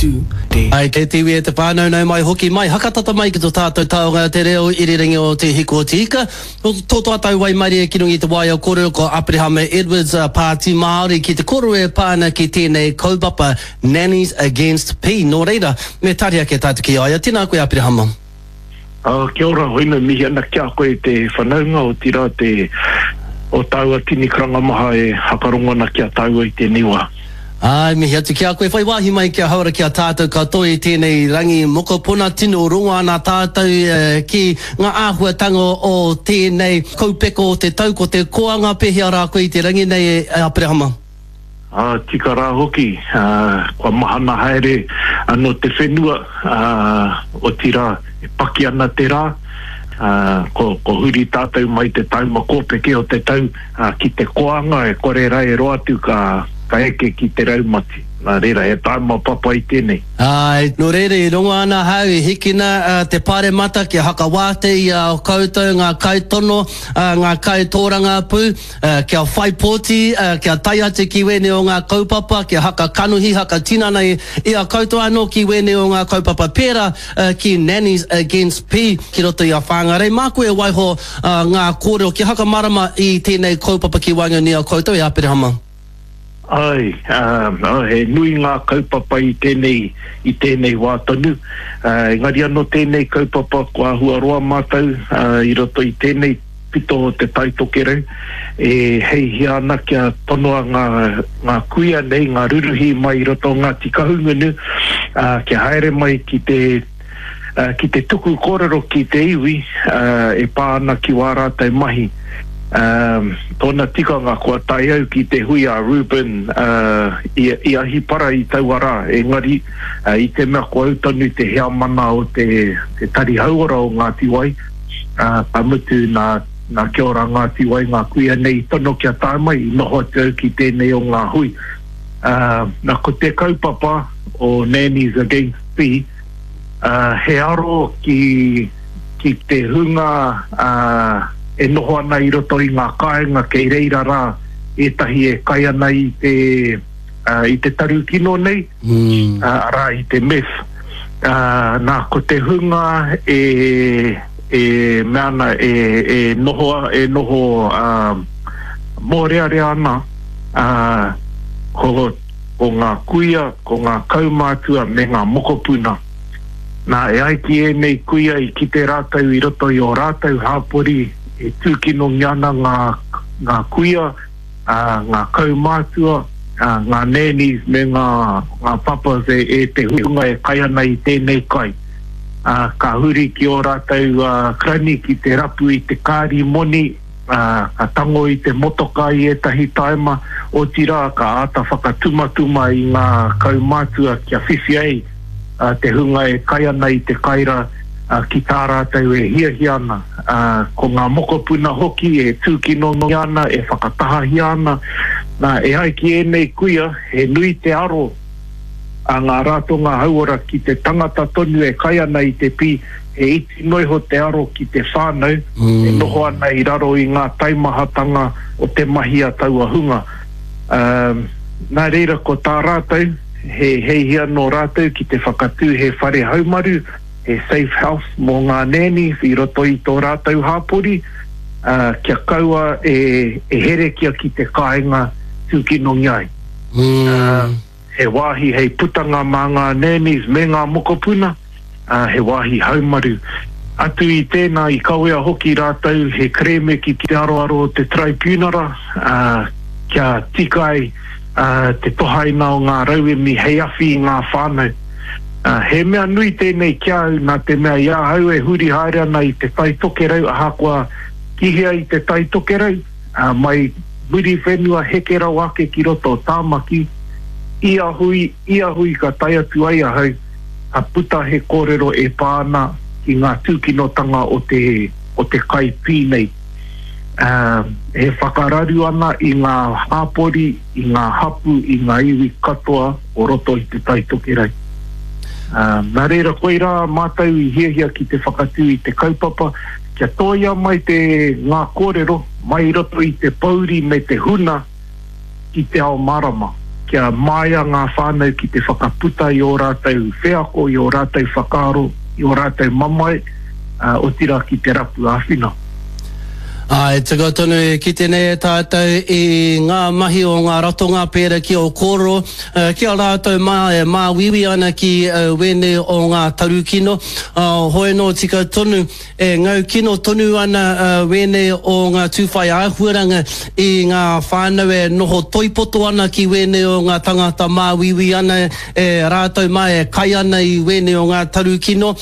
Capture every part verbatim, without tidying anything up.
two, three. Ai, kei te iwi e te whānau, nau mai hoki mai, hakatata mai ki to tātou taonga te reo irirangi o Te Hiku o Te Ika. Tō tātou waimarie ki runga i te waea kōrero ko Aperehama Edwards, Pāti Māori, ki te kōrero e pā ana ki tēnei kaupapa Nannies Against P. Nō reira, me tari ake tātou ki a ia. Tēnā koe Aperehama. Uh, kia ora, hoina mihi ana ki a koe te whanaunga, otirā te o tāua tini karanga maha e hakarongo ana ki a tāua i tēnei wā. Āe, mihi atu ki a koe. Whai wāhi mai kia hauora ki a tātou katoa i tēnei rangi mokopuna. Tino rongo ana tātou ki ngā āhuatanga o tēnei kaupeka o te tau, ko te koanga. Pēhea rā koe i te rangi nei e Aperehama? Ā, tika rā hoki, ā, kua mahana haere anō te whenua, ā, otirā, e paki ana te rā, ā, ko, ko huri tātou mai te taima kōpeke o te tau, ā, ki te koanga e kore rā e roa atu ka, ka eke ki te raumati. Nā reira, he taima papai tēnei. Āe, nō reira i rongo ana ahau i hikina te paremata kia hakawātea i a koutou ngā kaitono, ngā kaitōrangapū, kia whai pōti, kia tae atu ki wēnei o ngā kaupapa, kia haka kanohi, haka tinana i a koutou anō ki wēnei o ngā kaupapa pērā ki Nannies Against P ki roto i a Whāngarei. Māku e waiho ngā kōrero kia hakamārama i tēnei kaupapa ki waenganui i a koutou e Aperehama. Āe, he nui ngā kaupapa i tēnei, i tēnei wā tonu. Engari anō tēnei kaupapa kua āhua roa mātou i roto i tēnei pito o Te Tai Tokerau e heihia ana kia tonoa ngā, ngā kuia nei, ngā ruruhi mai i roto o Ngāti Kahungunu, kia haere mai ki te, ki te tuku kōrero ki te iwi e pā ana ki wā rātou mahi. Tōna tikanga kua tae au ki te hui a Reuben i Ahipara i taua rā, engari i te mea ko au tonu te heamana o te Tari Hauora o Ngāti Wai, ka mutu nā Kia Ora Ngāti Wai ngā kuia nei i tono kia tae mai, i noho atu au ki tēnei o ngā hui. Nā, ko te kaupapa o Nannies Against P, he aro ki, ki te hunga e noho ana i roto i ngā kāinga kei reira rā ētahi e kai ana i te, i te taru kino nei, arā i te meth. Nā, ko te hunga e, e mea ana, e, e noho, e noho mōrearea ana, ko, ko ngā kuia, ko ngā kaumātua me ngā mokopuna. Nā, e ai ki ēnei kuia i kite rātou i roto i ō rātou hāpori e tūkinongia ana ngā, ngā kuia, ā, ngā kaumātua, ā, ngā nannies me ngā, ngā papas e, e te hunga e kai ana i tēnei kai. Ā, ka huri ki ō rātou, ā, karani ki te rapu i te kāri moni, ā, ka tango i te motokā i ētahi taima, otirā ka āta whakatumatuma i ngā kaumātua kia whiwhi ai te hunga e kai ana i te kai rā ki tā rātou e hiahia ana. Ko ngā mokopuna hoki e tūkinongia ana, e whakatahahia ana. Nā, e ai ki ēnei kuia, he nui te aro a ngā ratonga hauora ki te tangata tonu e kai ana i te pī, he iti noa iho te aro ki te whānau e noho ana i raro i ngā taimahatanga o te mahi a taua hunga. Nā reira ko tā rātou, he heihia nō rātou ki te whakatū he whare haumaru, he safe house mō ngā nannies i roto i tō rātou hāpori, kia kaua e herekia ki te kāinga tūkinongia ai. He wāhi hei putanga mā ngā nannies me ngā mokopuna, ā, he wāhi haumaru. Atu i tēnā, i kawea hoki rātou he kerēme ki te aroaro o te Taraipiunara, ā, kia tika ai te tohaina o ngā rauemi hei awhi i ngā whānau. Ā, he mea nui tēnei ki a au nā te mea i ahau e huri haere ana i Te Tai Tokerau ahakoa ki hea i Te Tai Tokerau, ā, mai Muriwhenua heke rawa ake ki roto o Tāmaki, ia hui, ia hui ka tae atu ai ahau, ka puta he kōrero e pā ana ki ngā tūkinotanga o te, o te kai pī nei. Ā, e whakararu ana i ngā hāpori, i ngā hapū, i ngā iwi katoa o roto i Te Tai Tokerau. Ā, nā reira koirā mātou i hiahia ki te whakatū i te kaupapa, kia tōia mai te, ngā kōrero mai i roto i te pōuri me te huna ki te ao mārama, kia māia ngā whānau ki te whakaputa i ō rātou wheako, i ō rātou whakaaro, i ō rātou mamae, ā, otirā ki te rapu āwhina. Āe, tika tonu e kite nei e tātou i ngā mahi o ngā ratonga pērā ki ō kōrero, ki a rātou mā e māuiui ana ki wēnei o ngā tarukino. Hoi anō tika tonu, e ngau kino tonu ana wēnei o ngā tūwhai āhuaranga i ngā whānau e noho toipoto ana ki wēnei o ngā tangata māuiui ana e rātou mā e kai ana i wēnei o ngā tarukino.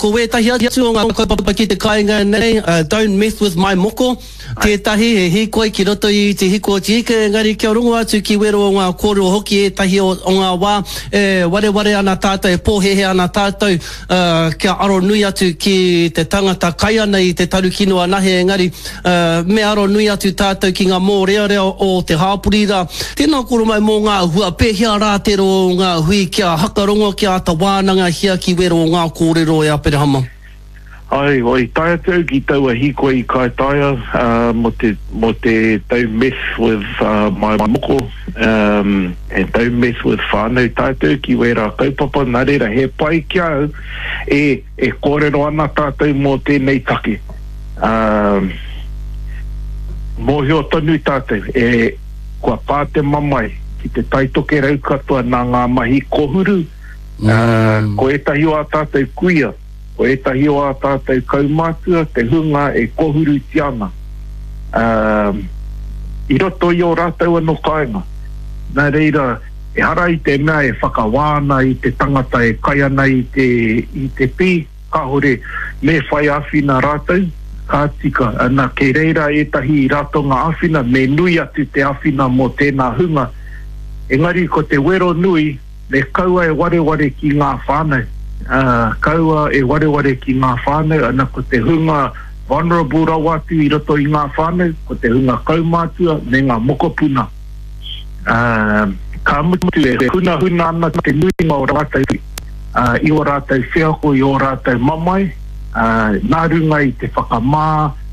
Ko wētahi atu o ngā kaupapa ki te kāinga nei, Don't mess with my moko, tētahi he hīkoi ki roto i te hiko o te ika, engari kia rongo atu ki wero o ngā kōrero hoki ētahi o ngā wā e wareware ana tātou, e pōhēhē ana tātou kia aro nui atu ki te tangata kai ana i te tarukino anahe, engari me aro nui atu tātou ki ngā mōrearea o te hāpori rā. Tēnā koro mai mō ngā hua, pēhea rā te roa o ngā hui kia hakarongo, kia āta wānangahia ki wero o ngā kōrero e Aperahama? Ai, i tae atu au ki taua hīkoi i Kaitaia mō te, mō te Don't Mess With My Moko, um, and Don't Mess With Whānau, tae atu au ki wērā kaupapa, nā reira he pai ki a au e, e kōrero ana tātou mō tēnei take. Um, mōhio tonu tātou, e, kua pā te mamae ki te Tai Tokerau katoa nā ngā mahi kohuru, mm. uh, ko ētahi o ā tātou kuia, ko ētahi o ā tātou kaumātua te hunga e kohurutia ana i roto i ō rātou anō kāinga. Nā reira, ehara i te mea e whakawā ana i te tangata e kai ana i te, i te pī, kāore me whai āwhina rātou, ka tika. Ana, kei reira ētahi ratonga āwhina, me nui atu te āwhina mō tēnā hunga. Engari ko te wero nui, me kaua e wareware ki ngā whānau. Ā, kaua e wareware ki ngā whānau, ana ko te hunga vulnerable rawa atu i roto i ngā whānau, ko te hunga kaumātua me ngā mokopuna. Ā, ka mutu e hunahuna ana te nuinga o rātou i ō rātou wheako, i ō rātou mamae, ā, nā runga i te whakamā,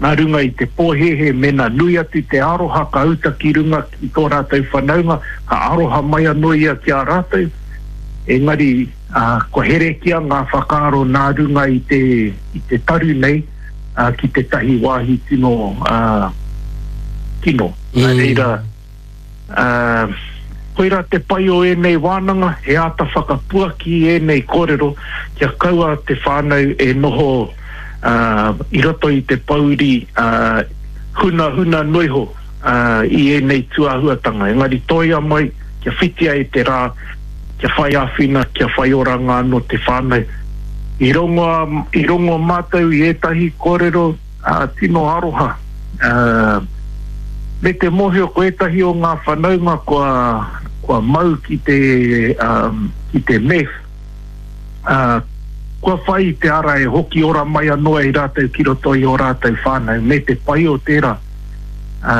nā runga i te pōhēhē, mēnā nui atu te aroha ka uta ki runga ki tō rātou whanaunga, ka aroha mai anō ia ki a rātou, engari, ā, kua herekia ngā whakaaro nā runga i te, i te taru nei, ā, ki tētahi wāhi tino, ā, kino. Nā reira, ā, koirā te pai o ēnei wānanga, he āta whakapuaki i ēnei kōrero kia kaua te whānau e noho, ā, i roto i te pōuri, ā, hunahuna noa iho, ā, i ēnei tūāhuatanga. Engari toia mai, kia whitia e te rā, kia whai āwhina, kia whai oranga anō te whānau. I rongo, i rongo mātou i ētahi kōrero tino aroha, me te mōhio ko ētahi o ngā whanaunga kua, kua mau ki te, ki te meth, kua whai i te ara e hoki ora mai anō ai rātou ki roto i ō rātou whānau, me te pai o tērā. Ā,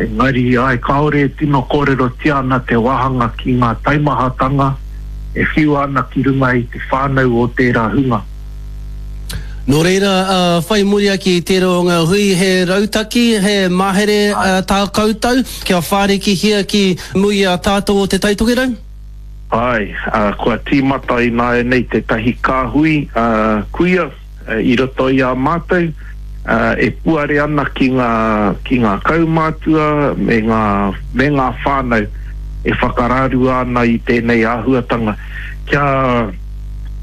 engari, āe, kāore e tino kōrerotia ana te wāhanga ki ngā taimahatanga e whiua ana ki runga i te whānau o tērā hunga. Nō reira, whai muri ake i tērā o ngā hui, he rautaki, he mahere tā koutou kia whārikihia ki mua i a tātou o Te Tai Tokerau? Āe, kua tīmata ināianei tētahi kāhui kuia i roto i a mātou e puare ana ki ngā, ki ngā kaumātua me ngā, me ngā whānau e whakararua ana i tēnei āhuatanga kia,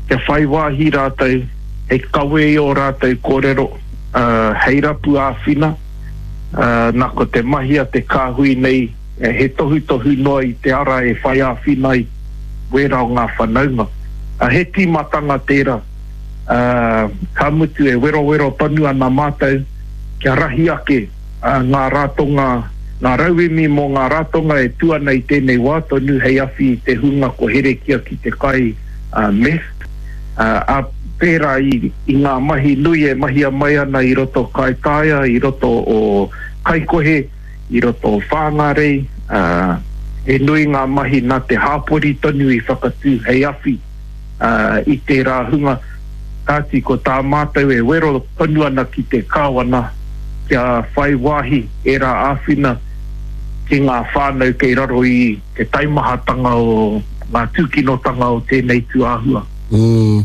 kia whai wāhi rātou hei kawe i ō rātou kōrero, hei rapu āwhina, nā ko te mahi a te kāhui nei, He tohutohu noa i te ara e whai āwhina ai wērā o ngā whanaunga. He tīmatanga tērā, ā, ka mutu e werowero tonu ana mātou kia rahi ake ngā ratonga, ngā rauemi mō ngā ratonga e tū ana i tēnei wā tonu hei awhi i te hunga ko herekia ki te kai meth, ā, pērā i ngā mahi nui e mahia mai ana i roto Kaitaia, i roto o Kaikohe. I roto o Whāngārei, ā, he nui ngā mahi nā te hāpori tonu i whakatū hei awhi i tērā hunga. Kāti ko tā mātou e wero tonu ana ki te Kāwana kia whai wāhi ērā āwhina ki ngā whānau kei raro i te taimahatanga o ngā tūkinotanga o tēnei tūāhua. Mm.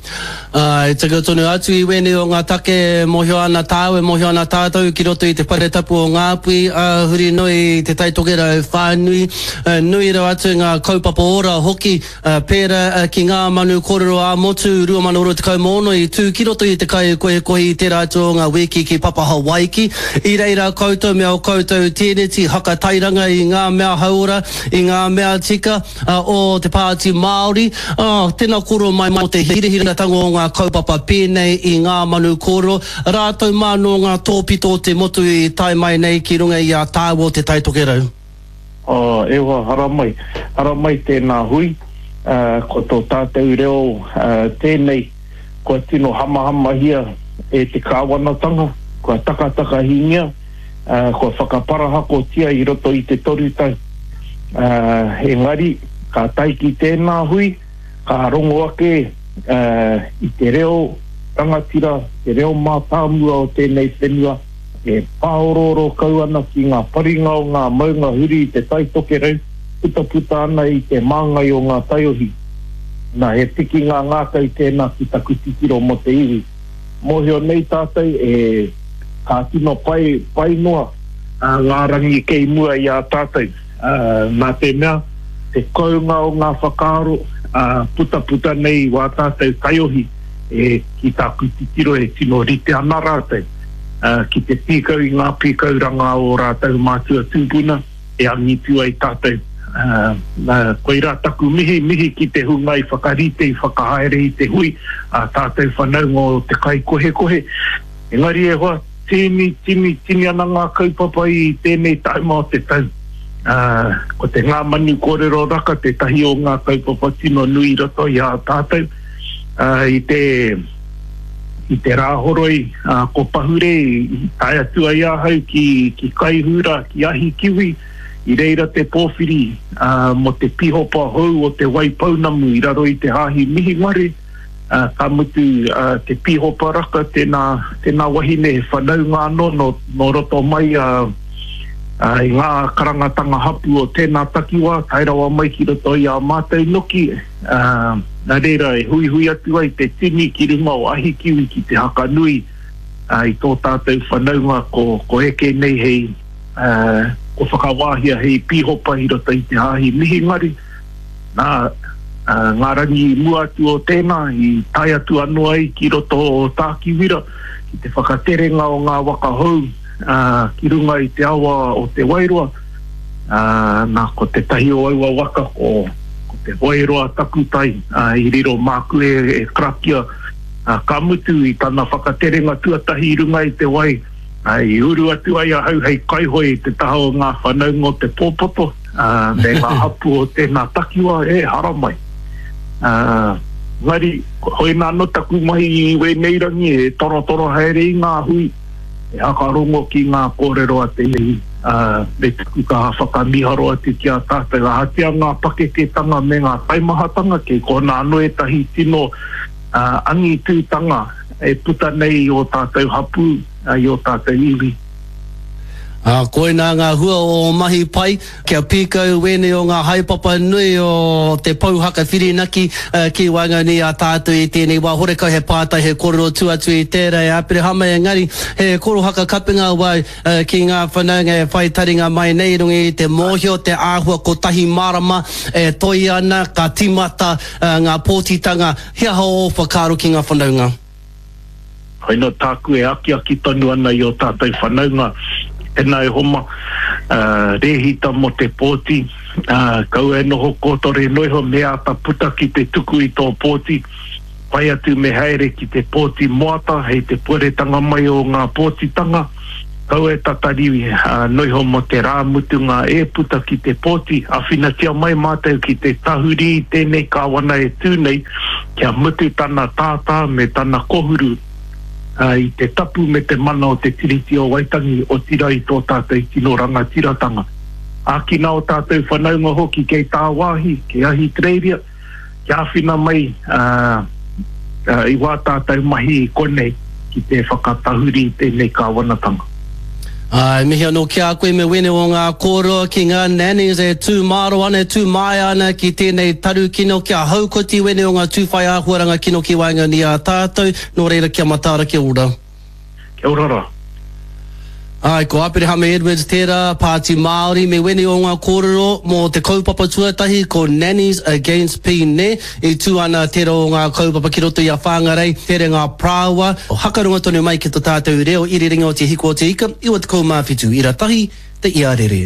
Uh, e tika tonu atu i wēnei o ngā take e mōhio ana tāu, e mōhio ana tātou ki roto i te whare tapu o Ngāpuhi, uh, huri noa i Te Tai Tokerau whānui, uh, nui rawa atu ngā kaupapa ora hoki, uh, pērā uh, ki ngā manu kōrero ā-motu rua mano rua tekau mā ono i tū ki roto i te kaikohikohi i tērā atu o ngā wiki ki Papa Hawaiki. I reira koutou me ō koutou tēneti hakatairanga i ngā mea hauora, i ngā mea tika uh, o te Pāti Māori. Uh, tēnā kōrero mai mō te hirahiratanga o ngā kaupapa pēnei i ngā manu kōrero, rātou mā nō ngā tōpito o te motu i tae mai nei ki runga i a tāua o Te Tai Tokerau. Oh, e hoa, haramai. Haramai tēnā hui, uh, ko tō tātou reo uh, tēnei, kua tino hamahamahia e te kāwanatanga, kua takatakahingia, uh, kua whakaparahakotia i roto i te toru tau. Uh, engari, ka tae ki tēnā hui, ka rongo ake uh, i te reo rangatira, te reo mātāmua o tēnei whenua, e pāorooro kau ana ki ngā paringa o ngā maunga huri i Te Tai Tokerau, putaputa ana i te māngai o ngā taiohi. Nā, he pikinga ngākau tēnā ki taku titiro mō te iwi. Mōhio nei tātou e ka tino pai, pai noa uh, ngā rangi kei mua i a tātou. Uh, nā te mea, te kounga o ngā whakaaro, uh, putaputa nei i wā tātou taiohi, e ki tāku titiro e tino rite ana rātou, uh, ki te pīkau i ngā pīkauranga o rātou mātua tūpuna, e angitu ai tātou. Uh, uh, koirā taku mihi, mihi ki te hunga i whakarite, i whakahaere i te hui, a tātou whanaunga o te kaikohekohe. Engari e hoa, tini, tini, tini ana ngā kaupapa i tēnei taima o te tau. Uh, ko te ngā manu kōrero raka tētahi o ngā kaupapa tino nui i roto i a tātou. Uh, i te i te rāhoroi uh, ko Pahure i tae atu ai ahau ki, ki Kaihura, ki Ahikiwi, i reira te pōwhiri uh, mō te pihopa hou o te Waipounamu i raro i te hāhi Mihingare. Uh, ka mutu uh, te pihopa raka tēnā, tēnā wahine he whanaunga anō no, no roto mai uh, uh, i ngā karangatanga hapu o tēnā takiwā, tae rawa mai ki roto i a mātou noki, uh, nā reira e huihui atu ai te tini ki runga o Ahikiwi ki te hakanui uh, i tō tātou whanaunga ko, ko eke nei hei uh, ko whakawāhia hei pihopa i roto i te hāhi Mihingare. Nā, uh, ngā rangi i mua atu o tēnā, i tae atu anō ai ki roto o Tākiwira, ki te whakaterenga o ngā waka hou uh, ki runga i te awa o Te Wairoa. Uh, nā, ko tētahi o aua waka ko, ko Te Wairoa Takutai, uh, i riro māku e, e karakia, uh, ka mutu i tana whakaterenga tuatahi i runga i te wai, uh, i uru atu ai ahau hei kaihoe i te taha o ngā whanaunga o te pōpoto, uh, me ngā hapu o tēnā takiwa e haramai. Uh, ngari, hoina anō taku mahi i wēnei rangi e torotoro haere i ngā hui, e hakarongo ki ngā kōrero a te iwi, uh, me taku kaha whakamiharo atu ki a tātou. Ahatia ngā pakeketanga me ngā taimahatanga, kei kona anō ētahi tino uh, angitūtanga e puta nei i o tātou hapū, uh, i o tātou iwi. Uh, koinā ngā hua o mahi pai, kia pīkau wēnei o ngā haepapa nui o te pouhaka whirinaki uh, ki waenganui a tātou i tēnei wā. Horekau he pātai, he kōrero tu atu i tērā e Aperehama, engari he korohaka kapenga wau uh, ki ngā whanaunga e whai taringa mai nei runga i te mōhio, te āhua kotahi marama e toi ana, ka timata uh, ngā pōtitanga. He aha o whakaaro ki ngā whanaunga? Hoina tāku e akiaki tonu ana i o tātou whanaunga, tēnā e homa, uh, rēhita mō te pōti, uh, kaua e noho kōtore noiho me āta puta ki te tuku i tō pōti, pai atu me haere ki te pōti moata, hei te pueretanga mai o ngā pōtitanga, kaua e tatari uh, noiho mō te rā mutunga e puta ki te pōti, awhinatia mai mātou ki te tahuri i tēnei kāwana e tū nei, kia mutu tana tātā me tana kohuru, uh, i te tapu me te mana o te Tiriti o Waitangi, o tira i tō tātou tino rangatiratanga. Ākina o tātou whanaunga hoki kei tāwāhi, kei Ahitereiria, kia āwhina mai uh, uh, i wā tātou mahi i konei ki te whakatahuri i tēnei kāwanatanga. Āe, mihi anō ki a koe me wene o ngā kōrero ki ngā nannies e tū māro ana, e tū māia ana ki tēnei taru kino, kia haukoti wene o ngā tū whai āhuaranga kino ki waenganui i a tātou, nō reira kia mataara, kia ora. Kia ora rā. Āe, ko Aperehama Edwards tērā, Pāti Māori, me wēnei o ngā kōrero mō te kaupapa tuatahi, ko Nannies Against Pine, i tū ana tērā o ngā kaupapa ki roto i a Whangarei, Terenga Parāoa, hakarunga tonu mai ki to tātou reo irirangi o Te Hiku o Te Ika, iwa tekau mā whitu ira tahi, te iarere.